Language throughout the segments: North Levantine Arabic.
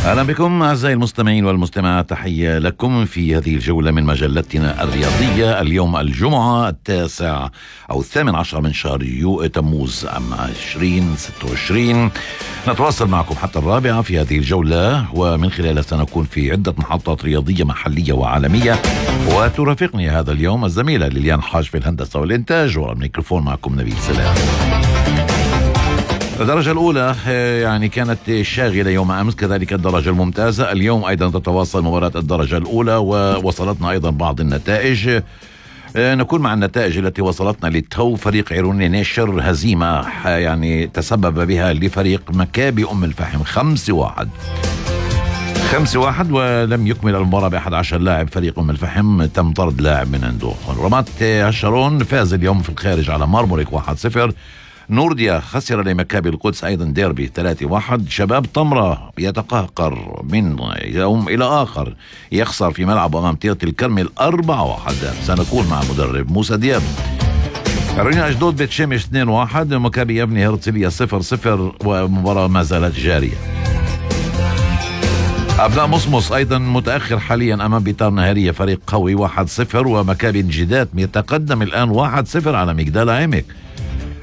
أهلا بكم أعزائي المستمعين والمستمعات، تحية لكم في هذه الجولة من مجلتنا الرياضية. اليوم الجمعة 18 من شهر تموز عام 2026. نتواصل معكم حتى 4 في هذه الجولة، ومن خلالها سنكون في عدة محطات رياضية محلية وعالمية. وترافقني هذا اليوم الزميلة ليليان حاج في الهندسة والإنتاج، والميكروفون معكم نبيل سلام. الدرجة الأولى يعني كانت شاغلة يوم أمس، كذلك الدرجة الممتازة. اليوم أيضا تتواصل مباراة الدرجة الأولى، ووصلتنا أيضا بعض النتائج. نكون مع النتائج التي وصلتنا للتو. فريق عيروني نيشر هزيمة يعني تسبب بها لفريق مكابي أم الفحم 5-1، ولم يكمل المباراة ب11 لاعب. فريق أم الفحم تم طرد لاعب من عنده. رمات هشرون فاز اليوم في الخارج على مرمرك 1-0. نورديا خسر لمكابي القدس أيضا ديربي 3-1. شباب طمرة يتقهقر من يوم إلى آخر، يخسر في ملعب أمام تيرة الكرمل 4-1. سنكون مع مدرب موسى دياب. عيروني أشدود بيت شمس 2-1. مكابي يبني هرتلية 0-0، ومباراة ما زالت جارية. أبناء مصمص أيضا متأخر حاليا أمام بيتار نهارية فريق قوي 1-0، ومكابي الجدات يتقدم الآن 1-0 على مجدال عمك.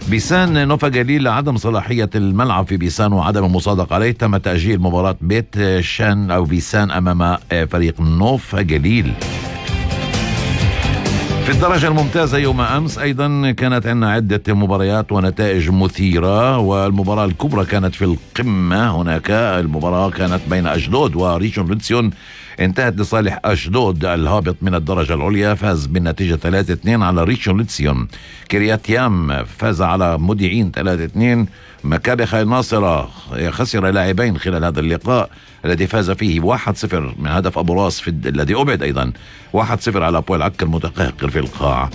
بيسان نوفا جليل لعدم صلاحية الملعب في بيسان وعدم المصادقة عليه، تم تأجيل مباراة بيت شان أو بيسان أمام فريق نوفا جليل. في الدرجة الممتازة يوم أمس أيضا كانت عندنا عدة مباريات ونتائج مثيرة، والمباراة الكبرى كانت في القمة. هناك المباراة كانت بين أشدود وريشون لوتسيون، انتهت لصالح أشدود الهابط من الدرجة العليا، فاز بالنتيجة 3-2 على ريشون لوتسيون. كريات يام فاز على موديعين 3-2. مكابي خير ناصرة خسر لاعبين خلال هذا اللقاء الذي فاز فيه 1-0 من هدف أبو راس الذي أبعد أيضا 1-0 على بويل عكا المتقهقر في القاع.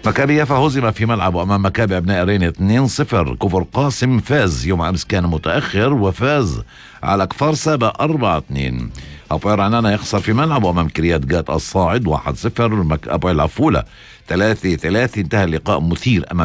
مكابي يافا هزم في ملعبه أمام مكابي أبناء رين 2-0. كفر قاسم فاز يوم أمس، كان متأخر وفاز على كفار سابا 4-2. أبويل عنانا يخسر في ملعبه أمام كريات جات الصاعد 1-0. أبويل عفولة 3-3. انتهى اللقاء مثير أمام